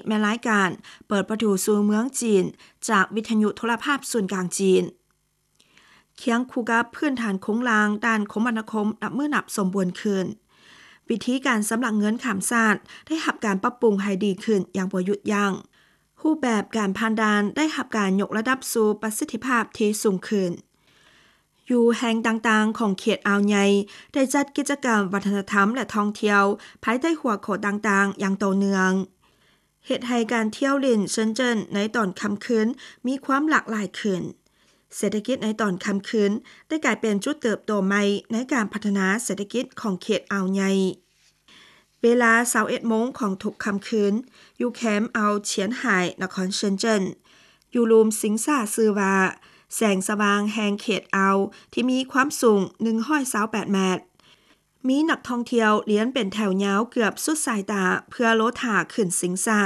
ແມ່ນລາຍການເປີດປະຕູສູ່ເມືອງຈີນ ຈາກວິທະຍຸໂທລະພາບສູນກາງຈີນ. ຄຽງຄູ່ກັບພື້ນຖານໂຄງລ່າງດ້ານຄົມມະນາຄົມນັບມື້ນັບສົມບູນຂຶ້ນ, ວິທີການຊຳລະເງິນຂ້າມຊາດໄດ້ຮັບການປັບປຸງໃຫ້ດີຂຶ້ນຢ່າງບໍ່ຢຸດຢັ້ງ. ຮູບແບບການຜ່ານດ່ານໄດ້ຮັບການຍົກລະດັບສູ່ປະສິດທິພາບທີ່ສູງຂຶ້ນ. ຢູ່ແຫ່ງຕ່າງໆຂອງເຂດອ່າວໃຫຍ່ ໄດ້ຈັດກິດຈະກຳວັດທະນະທຳ ແລະ ທ່ອງທ່ຽວພາຍໃຕ້ຫົວຂໍ້ຕ່າງໆຢ່າງຕໍ່ເນື່ອງ, ເຮັດໃຫ້ການທ່ຽວຫຼິ້ນເຊິນເຈິນໃນຕອນຄ່ຳຄືນມີຄວາມຫຼາກຫຼາຍຂຶ້ນ. ເສດຖະກິດໃນຕອນຄ່ຳຄືນໄດ້ກາຍເປັນຈຸດເຕີບໂຕໃໝ່ໃນການພັດທະນາເສດຖະກິດຂອງເຂດອ່າວໃຫຍ່. ເວລາຊາວເອັດໂມງຂອງທຸກຄ່ຳຄືນ, ຢູ່ແຄມອ່າວຊຽນຫາຍ ນະຄອນເຊິນເຈິນ, ຢູ່ລຸ່ມຊິງຊາຊື່ວ່າ ແສງສະຫວ່າງແຫ່ງເຂດອ່າວ ທີ່ມີຄວາມສູງໜຶ່ງຮ້ອຍຊາວແປດແມັດ. ມີນັກທ່ອງທ່ຽວລຽນເປັນແຖວຍາວເກືອບສຸດສາຍຕາເພື່ອລໍຖ້າຂຶ້ນຊິງຊາ.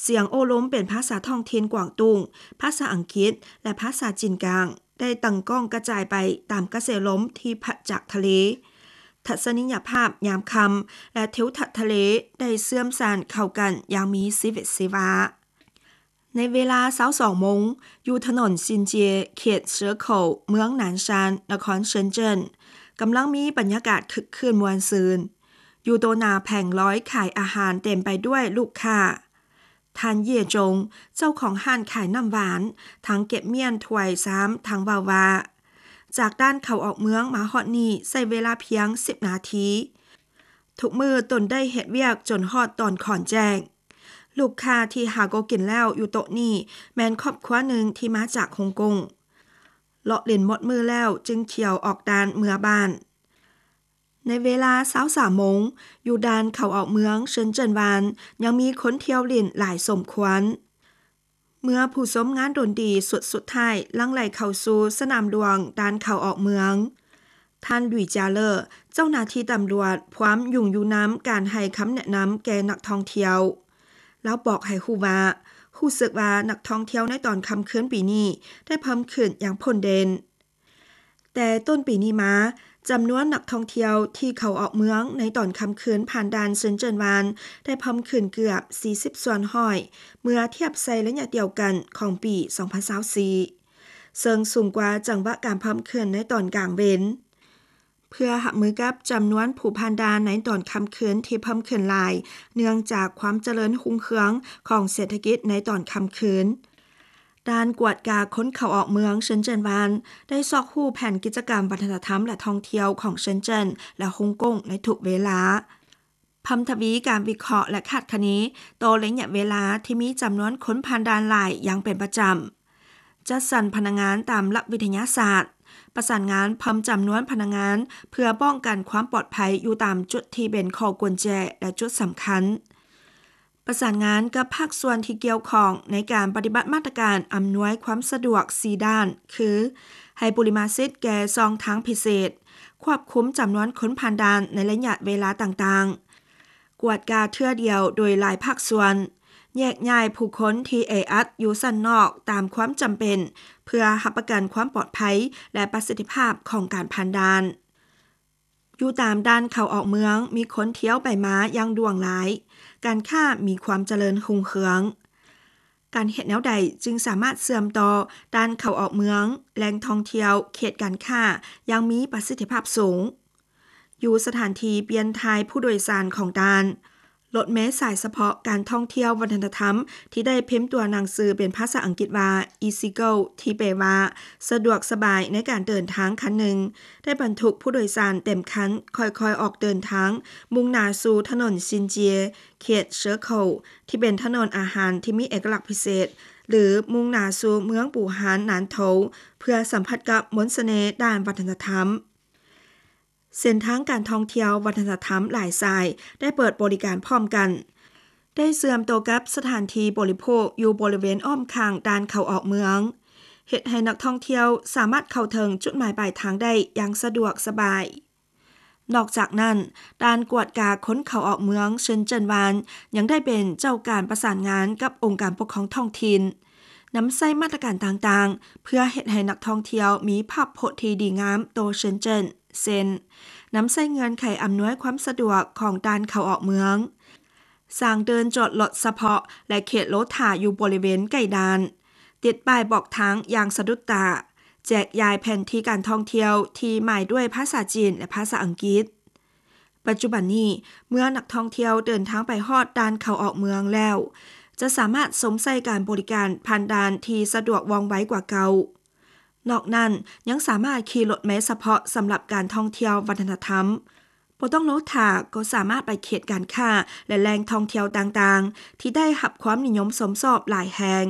ສຽງໂອ້ລົມເປັນພາສາທ້ອງຖິ່ນກວາງຕຸ້ງ, ພາສາອັງກິດ ແລະ ພາສາຈີນກາງ ໄດ້ຕັ້ງກ້ອງກະຈາຍໄປຕາມກະແສລົມທີ່ພັດຈາກທະເລ. ທັດສະນີຍະພາບຍາມຄ່ຳ ແລະ ທິວທັດທະເລໄດ້ເຊື່ອມສານເຂົ້າກັນຢ່າງມີຊີວິດຊີວາ. ໃນເວລາຊາວສອງໂມງ, ຢູ່ຖະໜົນຊິນເຈຍ ເຂດເຊີໂຄວ ເມືອງໜານຊານ ນະຄອນເຊິນເຈິນ, ກຳລັງມີບັນຍາກາດຄຶກຄື້ນມ່ວນຊື່ນ. ຢູ່ໂຕໜ້າແຜງລອຍຂາຍອາຫານເຕັມໄປດ້ວຍລູກຄ້າ. ທ່ານ ເຢຍຈົງ ເຈົ້າຂອງຮ້ານຂາຍນ້ຳຫວານ, ທັງເກັບມ້ຽນຖ້ວຍຊາມ, ທັງເວົ້າວ່າ ຈາກດ່ານເຂົ້າອອກເມືອງມາຮອດນີ້ໃຊ້ເວລາພຽງສິບນາທີ. ທຸກມື້ຕົນໄດ້ເຮັດວຽກຈົນຮອດຕອນຂອນແຈ້ງ. ລູກຄ້າທີ່ຫາກໍກິນແລ້ວຢູ່ໂຕະນີ້ແມ່ນຄອບຄົວໜຶ່ງທີ່ມາຈາກຮົງກົງ. ເລາະຫຼິ້ນໝົດມື້ແລ້ວຈຶ່ງທ່ຽວອອກດ່ານເມືອບ້ານ. ໃນເວລາຊາວສາມໂມງ, ຢູ່ດ່ານເຂົ້າອອກເມືອງເຊິນເຈິນວານ ຍັງມີຄົນທ່ຽວຫຼິ້ນຫຼາຍສົມຄວນ. ເມື່ອຜູ້ຊົມງານດົນຕີຊຸດສຸດທ້າຍຫຼັ່ງໄຫຼເຂົ້າສູ່ສະໜາມຫຼວງດ່ານເຂົ້າອອກເມືອງ, ທ່ານ ຫຼຸຍ ຈາເລີ ເຈົ້າໜ້າທີ່ຕຳຫຼວດພວມຫຍຸ້ງຢູ່ນຳການໃຫ້ຄຳແນະນຳແກ່ນັກທ່ອງທ່ຽວ. ລາວບອກໃຫ້ຮູ້ວ່າ, ຮູ້ສຶກວ່ານັກທ່ອງທ່ຽວໃນຕອນຄ່ຳຄືນປີນີ້ໄດ້ເພີ່ມຂຶ້ນຢ່າງພົ້ນເດັ່ນ. ແຕ່ຕົ້ນປີນີ້ມາ, ຈຳນວນນັກທ່ອງທ່ຽວທີ່ເຂົ້າອອກເມືອງໃນຕອນຄ່ຳຄືນຜ່ານດ່ານເຊິນເຈິນວານ ໄດ້ເພີ່ມຂຶ້ນເກືອບສີ່ສິບສ່ວນຮ້ອຍ ເມື່ອທຽບໃສ່ໄລຍະດຽວກັນຂອງປີສອງພັນຊາວສີ່, ເຊິ່ງສູງກວ່າຈັງຫວະການເພີ່ມຂຶ້ນໃນຕອນກາງເວັນ. ເພື່ອຮັບມືກັບຈຳນວນຜູ້ຜ່ານດ່ານໃນຕອນຄ່ຳຄືນທີ່ເພີ່ມຂຶ້ນຫຼາຍ ເນື່ອງຈາກຄວາມຈະເລີນຮຸ່ງເຮືອງຂອງເສດຖະກິດໃນຕອນຄ່ຳຄືນ, ດ່ານກວດກາຄົນເຂົ້າອອກເມືອງເຊິນເຈິນວານ ໄດ້ຊອກຮູ້ແຜນກິດຈະກຳວັດທະນະທຳ ແລະ ທ່ອງທ່ຽວຂອງເຊິນເຈິນ ແລະ ຮົງກົງໃນທຸກເວລາ, ເພີ່ມທະວີການວິເຄາະ ແລະ ຄາດຄະເນຕໍ່ໄລຍະເວລາທີ່ມີຈຳນວນຄົນຜ່ານດ່ານຫຼາຍຢ່າງເປັນປະຈຳ, ຈັດສັນພະນັກງານຕາມຫຼັກວິທະຍາສາດ, ປະສານງານເພີ່ມຈຳນວນພະນັກງານເພື່ອປ້ອງກັນຄວາມປອດໄພຢູ່ຕາມຈຸດທີ່ເປັນຂໍ້ກຸນແຈ ແລະ ຈຸດສຳຄັນ. ປະສານງານກັບພາກສ່ວນທີ່ກ່ຽວຂ້ອງໃນການປະຕິບັດມາດຕະການອຳນວຍຄວາມສະດວກສີ່ດ້ານ ຄື ໃຫ້ບຸລິມະສິດແກ່ຊ່ອງທາງພິເສດ, ຄວບຄຸມຈຳນວນຄົນຜ່ານດ່ານໃນໄລຍະເວລາຕ່າງໆ, ກວດກາເທື່ອດຽວໂດຍຫຼາຍພາກສ່ວນ, ແຍກຍ້າຍຜູ້ຄົນທີ່ແອອັດຢູ່ຊັ້ນນອກຕາມຄວາມຈຳເປັນ ເພື່ອຮັບປະກັນຄວາມປອດໄພ ແລະ ປະສິດທິພາບຂອງການຜ່ານດ່ານ. ຢູ່ຕາມດ່ານເຂົ້າອອກເມືອງມີຄົນທ່ຽວໄປມາຢ່າງຫຼວງຫຼາຍ, ການຄ້າມີຄວາມຈະເລີນຮຸ່ງເຮືອງ. ການເຮັດແນວໃດຈຶ່ງສາມາດເຊື່ອມຕໍ່ດ່ານເຂົ້າອອກເມືອງ, ແຫຼ່ງທ່ອງທ່ຽວ, ເຂດການຄ້າຢ່າງມີປະສິດທິພາບສູງ? ຢູ່ສະຖານທີ່ປ່ຽນຖ່າຍຜູ້ໂດຍສານຂອງດ່ານ, ລົດເມສາຍສະເພາະການທ່ອງທ່ຽວວັດທະນະທຳ ທີ່ໄດ້ພິມຕົວໜັງສືເປັນພາສາອັງກິດວ່າ EasyGo ທີ່ແປວ່າ ສະດວກສະບາຍໃນການເດີນທາງຄັນໜຶ່ງ ໄດ້ບັນທຸກຜູ້ໂດຍສານເຕັມຄັນ ຄ່ອຍໆອອກເດີນທາງ ມຸ່ງໜ້າສູ່ຖະໜົນຊິນເຈຍ ເຂດເຊີໂຄ ທີ່ເປັນຖະໜົນອາຫານທີ່ມີເອກະລັກພິເສດ ຫຼື ມຸ່ງໜ້າສູ່ເມືອງປູຮານນານໂທ ເພື່ອສຳຜັດກັບມົນສະເໜ່ດ້ານວັດທະນະທຳ. ເສັ້ນທາງການທ່ອງທ່ຽວວັດທະນະທຳຫຼາຍສາຍໄດ້ເປີດບໍລິການພ້ອມກັນ, ໄດ້ເຊື່ອມໂຕກັບສະຖານທີ່ບໍລິໂພກຢູ່ບໍລິເວນອ້ອມຂ້າງດ່ານເຂົ້າອອກເມືອງ, ເຮັດໃຫ້ນັກທ່ອງທ່ຽວສາມາດເຂົ້າເຖິງຈຸດໝາຍປາຍທາງໄດ້ຢ່າງສະດວກສະບາຍ. ນອກຈາກນັ້ນ, ດ່ານກວດກາຄົນເຂົ້າອອກເມືອງເຊິນເຈິນວານ ຍັງໄດ້ເປັນເຈົ້າການປະສານງານກັບອົງການປົກຄອງທ້ອງຖິ່ນ, ນຳໃຊ້ມາດຕະການຕ່າງໆ ເພື່ອເຮັດໃຫ້ນັກທ່ອງທ່ຽວມີພາບພົດທີ່ດີງາມຕໍ່ເຊິນເຈິນ ເຊັ່ນ ນຳໃຊ້ເງື່ອນໄຂອຳນວຍຄວາມສະດວກຂອງດ່ານເຂົ້າອອກເມືອງ, ສ້າງເດີ່ນຈອດລົດສະເພາະ ແລະ ເຂດໂລຖ້າຢູ່ບໍລິເວນໃກ້ດ່ານ, ຕິດປ້າຍບອກທາງຢ່າງສະດຸດຕາ, ແຈກຢາຍແຜນທີ່ການທ່ອງທ່ຽວທີ່ໝາຍດ້ວຍພາສາຈີນ ແລະ ພາສາອັງກິດ. ປັດຈຸບັນນີ້, ເມື່ອນັກທ່ອງທ່ຽວເດີນທາງໄປຮອດດ່ານເຂົ້າອອກເມືອງແລ້ວ, ຈະສາມາດຊົມໃຊ້ການບໍລິການຜ່ານດ່ານທີ່ສະດວກວ່ອງໄວກວ່າເກົ່າ. ນອກນັ້ນ, ຍັງສາມາດຂີ່ລົດເມສະເພາະສຳລັບການທ່ອງທ່ຽວວັດທະນະທຳ, ບໍ່ຕ້ອງໂລຖ້າກໍສາມາດໄປເຂດການຄ້າ ແລະ ແຫຼ່ງທ່ອງທ່ຽວຕ່າງໆ ທີ່ໄດ້ຮັບຄວາມນິຍົມຊົມຊອບຫຼາຍແຫ່ງ.